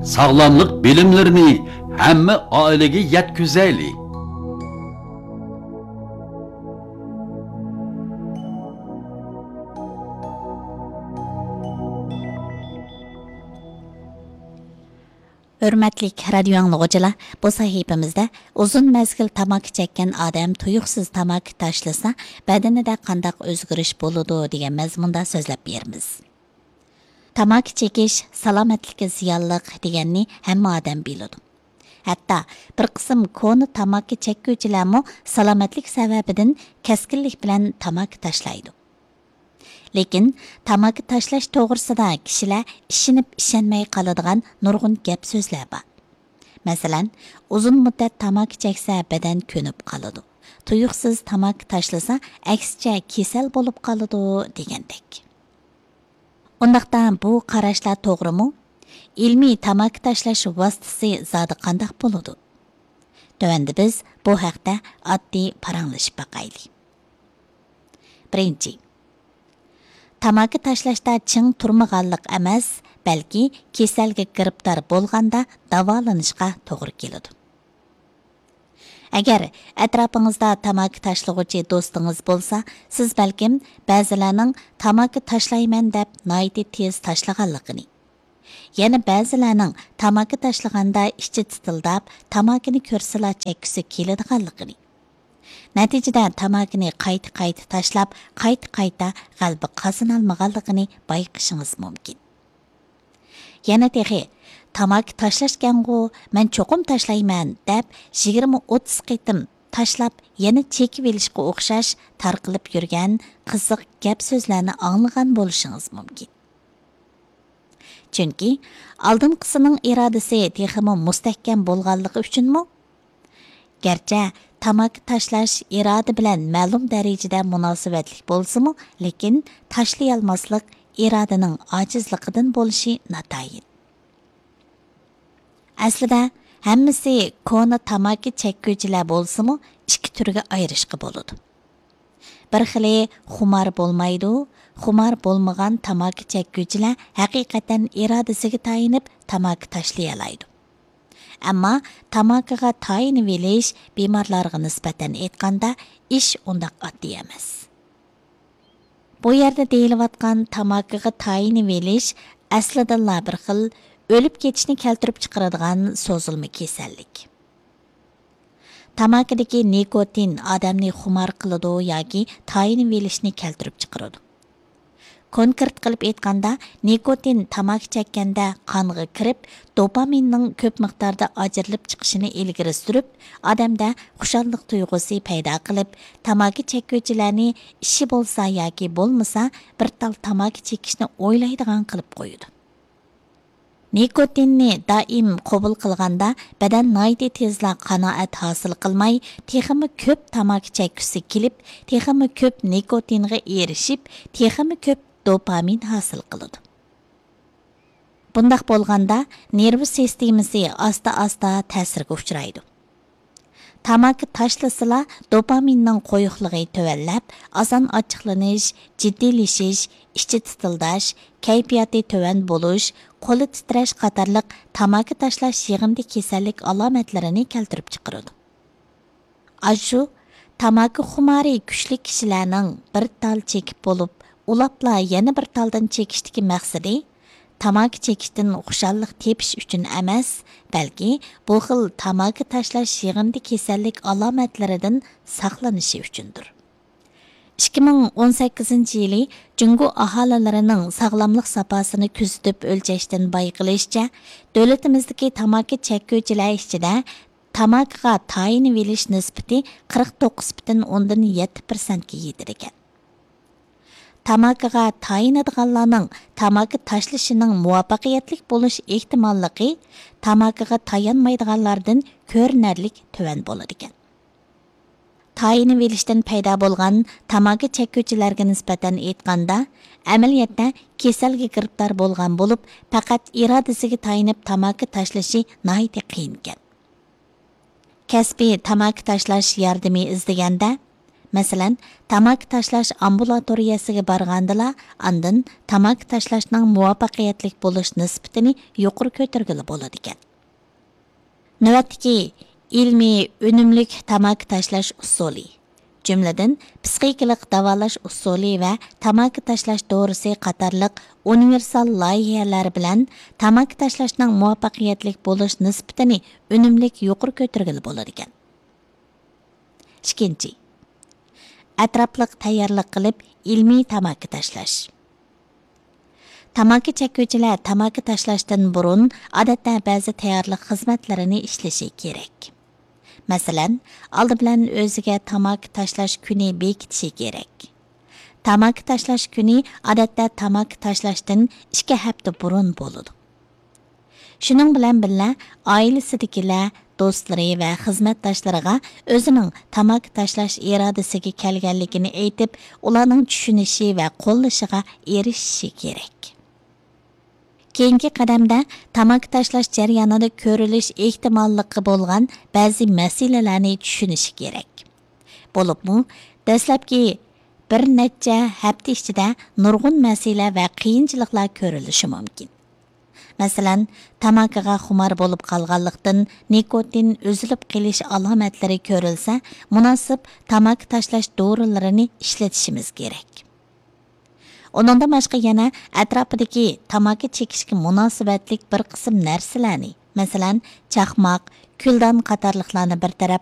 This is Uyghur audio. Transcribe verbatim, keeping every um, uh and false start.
ساغلاملىق بىلىملىرىنى ھەممە ئائىلىگە يەتكۈزەيلى. ھۆرمەتلىك رادىيو ئاڭلىغۇچىلار، بۇ سەھىپىمىزدە ئۇزۇن مەزگىل تاماكا چەككەن ئادەم تۇيۇقسىز تاماكا تاشلىسا، بەدىنىدە قانداق ئۆزگىرىش بولىدۇ دېگەن مەزمۇندا سۆزلەپ بېرىمىز. تاماكا چېكىش سالامەتلىككە زىيانلىق دېگەننى ھەممە ئادەم بىلىدۇ. ھەتتا بىر قىسىم كونا تاماكا چەككۈچىلەرمۇ سالامەتلىك سەۋەبىدىن كەسكىنلىك بىلەن تاماكا تاشلايدۇ. لېكىن تاماكا تاشلاش توغرىسىدا كىشىلەر ئىشىنىپ ئىشەنمەي قالىدىغان نۇرغۇن گەپ سۆزلەر بار. مەسىلەن، ئۇزۇن مۇددەت تاماكا چەكسە بەدەن كۆنۈپ قالىدۇ. تۇيۇقسىز تاماكا تاشلىسا ئەكسىچە كېسەل بولۇپ قالىدۇ دېگەندەك. ئۇنداقتا بۇ قاراشلار توغرىمۇ؟ ئىلمىي تاماكا تاشلاش ۋاسىتىسى زادى قانداق بولىدۇ؟ تۆۋەندە بىز بۇ ھەقتە ئاددىي پاراڭلىشىپ باقايلى. بىرىنچى، تاماكا تاشلاشتا چىڭ تۇرمىغانلىق ئەمەس، بەلكى كېسەلگە گىرىپتار بولغاندا داۋالىنىشقا توغرا كېلىدۇ. ئەگەر ئەتراپىڭىزدا تاماكا تاشلىغۇچى دوستىڭىز بولسا، سىز بەلكىم بەزىلەرنىڭ تاماكا تاشلايمەن دەپ ناھايىتى تېز تاشلىغانلىقىنى، يەنە بەزىلەرنىڭ تاماكا تاشلىغاندا ئىچى تىتىلداپ، تاماكىنى كۆرسىلا چەككۈسى كېلىدىغانلىقىنى، نەتىجىدە تاماكىنى قايتا-قايتا تاشلاپ، قايتا-قايتا غەلىبە قازىنالمىغانلىقىنى بايقىشىڭىز مۇمكىن. يەنە تېخى، «تاماكا تاشلاشكەنغۇ، مەن چوقۇم تاشلايمەن» دەپ، يىگىرمە ئوتتۇز قېتىم تاشلاپ، يەنە چېكىۋېلىشقا ئوخشاش تارقىلىپ يۈرگەن قىزىق گەپ سۆزلەرنى ئاڭلىغان بولۇشىڭىز مۇمكىن. چۈنكى ئالدىنقىسىنىڭ ئىرادىسى تېخىمۇ مۇستەھكەم بولغانلىقى ئۈچۈنمۇ؟ گەرچە تاماكا تاشلاش ئىرادە بىلەن مەلۇم دەرىجىدە مۇناسىۋەتلىك بولسىمۇ، لېكىن تاشلىيالماسلىق ئىرادىنىڭ ئاجىزلىقىدىن بولۇشى ناتايىن. ئەسلىدە ھەممىسى كونا تاماكا چەككۈچىلەر بولسىمۇ، ئىككى تۈرگە ئايرىشقا بولىدۇ. بىر خىلى خۇمار بولمايدۇ، خۇمار بولمىغان تاماكا چەككۈچىلەر ھەقىقەتەن ئىرادىسىگە تايىنىپ تاماكا تاشلىيالايدۇ. ئەمما تاماكىغا تايىنىۋېلىش بىمارلارغا نىسبەتەن ئېيتقاندا ئىش ئۇنداق ئاددىي ئەمەس. بۇ يەردە دېيىلىۋاتقان تاماكىغا تايىنىۋېلىش ئەسلىدىنلا بىر خىل ئۆلۈپ كېتىشنى كەلتۈرۈپ چىقىرىدىغان سوزۇلما كېسەللىك. تاماكىدىكى نىكوتىن ئادەمنى خۇمار قىلىدۇ ياكى تايىنىۋېلىشنى كەلتۈرۈپ چىقىرىدۇ. كونكرېت قىلىپ ئېيتقاندا، نىكوتىن تاماكا چەككەندە قانغا كىرىپ، دوپامىننىڭ كۆپ مىقداردا ئاجرىلىپ چىقىشىنى ئىلگىرى سۈرۈپ، ئادەمدە خۇشاللىق تۇيغۇسى پەيدا قىلىپ، تاماكا چەككۈچىلەرنى ئىشى بولسا ياكى بولمىسا، بىر تال تاماكا چېكىشنى ئويلايدىغان قىلىپ قويىدۇ. نىكوتىننى دائىم قوبۇل قىلغاندا، بەدەن ناھايىتى تېزلا قانائەت ھاسىل قىلماي، تېخىمۇ كۆپ تاماكا چەككۈسى كېلىپ، تېخىمۇ كۆپ نىكوتىنغا ئېرىشىپ، تېخىمۇ كۆپ دوپامىن ھاسىل قىلىدۇ. بۇنداق بولغاندا، نېرۋا سىستېمىسى ئاستا-ئاستا تەسىرگە ئۇچرايدۇ. تاماكا تاشلىسىلا، دوپامىننىڭ قويۇقلۇقى تۆۋەنلەپ، ئاسان ئاچچىقلىنىش، جىددىيلىشىش، ئىچى تىتىلداش، كەيپىياتى تۆۋەن بولۇش، قولى تىترەش قاتارلىق تاماكا تاشلاش يىغىندى كېسەللىك ئالامەتلىرىنى كەلتۈرۈپ چىقىرىدۇ. ئاشۇ تاماكا خۇمارى كۈچلۈك كىشىلەرنىڭ بىر تال چېكىپ بولۇپ، ئۇلاپلا يەنە بىر تالدىن چېكىشتىكى مەقسىتى تاماكا چېكىشتىن خۇشاللىق تېپىش ئۈچۈن ئەمەس، بەلكى بۇ خىل تاماكا تاشلاش يىغىندى كېسەللىك ئالامەتلىرىدىن ساقلىنىشى ئۈچۈندۇر. ئىككى مىڭ ئون سەككىزىنچى يىلى جۇڭگو ئاھالىلىرىنىڭ ساغلاملىق ساپاسىنى كۆزىتىپ ئۆلچەشتىن بايقىلىشىچە، دۆلىتىمىزدىكى تاماكا چەككۈچىلەر ئىچىدە تاماكىغا تايىنىۋېلىش نىسبىتى قىرىق توققۇز پۈتۈن ئوندىن يەتتە پىرسەنتكە يېتىدىكەن. تاماكىغا تايىنىدىغانلارنىڭ تاماكا تاشلىشىنىڭ مۇۋەپپەقىيەتلىك بولۇش ئېھتىماللىقى تاماكىغا تايانمايدىغانلاردىن كۆرۈنەرلىك تۆۋەن بولىدىكەن. تايىنىۋېلىشتىن پەيدا بولغان تاماكا چەككۈچىلەرگە نىسبەتەن ئېيتقاندا، ئەمەلىيەتتە كېسەلگە گىرىپتار بولغان بولۇپ، پەقەت ئىرادىسىگە تايىنىپ تاماكا تاشلىشى ناھايىتى قىيىنكەن. كەسپىي تاماكا تاشلاش ياردىمى ئىزدىگەندە، مەسىلەن، تاماكا تاشلاش ئامبۇلاتورىيەسىگە بارغاندىلا، ئاندىن تاماكا تاشلاشنىڭ مۇۋەپپەقىيەتلىك بولۇش نىسبىتىنى يۇقىرى كۆتۈرگىلى بولىدىكەن. نۆۋەتتىكى ئىلمىي ئۈنۈملۈك تاماكا تاشلاش ئۇسۇلى، جۈملىدىن پىسخىكىلىق داۋالاش ئۇسۇلى ۋە تاماكا تاشلاش دورىسى قاتارلىق ئۇنىۋېرسال لايىھەلەر بىلەن تاماكا تاشلاشنىڭ مۇۋەپپەقىيەتلىك بولۇش نىسبىتىنى ئۈنۈملۈك يۇقىرى كۆتۈرگىلى بولىدىكەن. ئىككىنچى، ئەتراپلىق تەييارلىق قىلىپ ئىلمىي تاماكا تاشلاش. تاماكا چەككۈچىلەر تاماكا تاشلاشتىن بۇرۇن، ئادەتتە، بەزى تەييارلىق خىزمەتلىرىنى ئىشلىشى كېرەك. مەسىلەن، ئالدى بىلەن ئۆزىگە تاماكا تاشلاش كۈنى بېكىتىشى كېرەك. تاماكا تاشلاش كۈنى، ئادەتتە، تاماكا تاشلاشتىن ئىككى ھەپتە بۇرۇن بولىدۇ. شۇنىڭ بىلەن بىللە، ئائىلىسىدىكىلەر، دوستلىرى ۋە خىزمەتداشلىرىغا ئۆزىنىڭ تاماكا تاشلاش ئىرادىسىگە كەلگەنلىكىنى ئېيتىپ، ئۇلارنىڭ چۈشىنىشى ۋە قوللىشىغا ئېرىشىشى كېرەك. كېيىنكى قەدەمدە، تاماكا تاشلاش جەريانىدا كۆرۈلۈش ئېھتىماللىقى بولغان بەزى مەسىلىلەرنى چۈشىنىشى كېرەك. بولۇپمۇ، دەسلەپكى بىر نەچچە ھەپتە ئىچىدە نۇرغۇن مەسىلە ۋە قىيىنچىلىقلار كۆرۈلۈشى مۇمكىن. مەسىلەن، تاماكىغا خۇمار بولۇپ قالغانلىقتىن، نىكوتىن ئۈزۈلۈپ قېلىش ئالامەتلىرى كۆرۈلسە، مۇناسىپ تاماكا تاشلاش دورىلىرىنى ئىشلىتىشىمىز كېرەك. ئۇنىڭدىن باشقا، يەنە ئەتراپىدىكى تاماكا چېكىشكە مۇناسىۋەتلىك بىر قىسىم نەرسىلەرنى، مەسىلەن، چاقماق، كۈلدان قاتارلىقلارنى بىر تەرەپ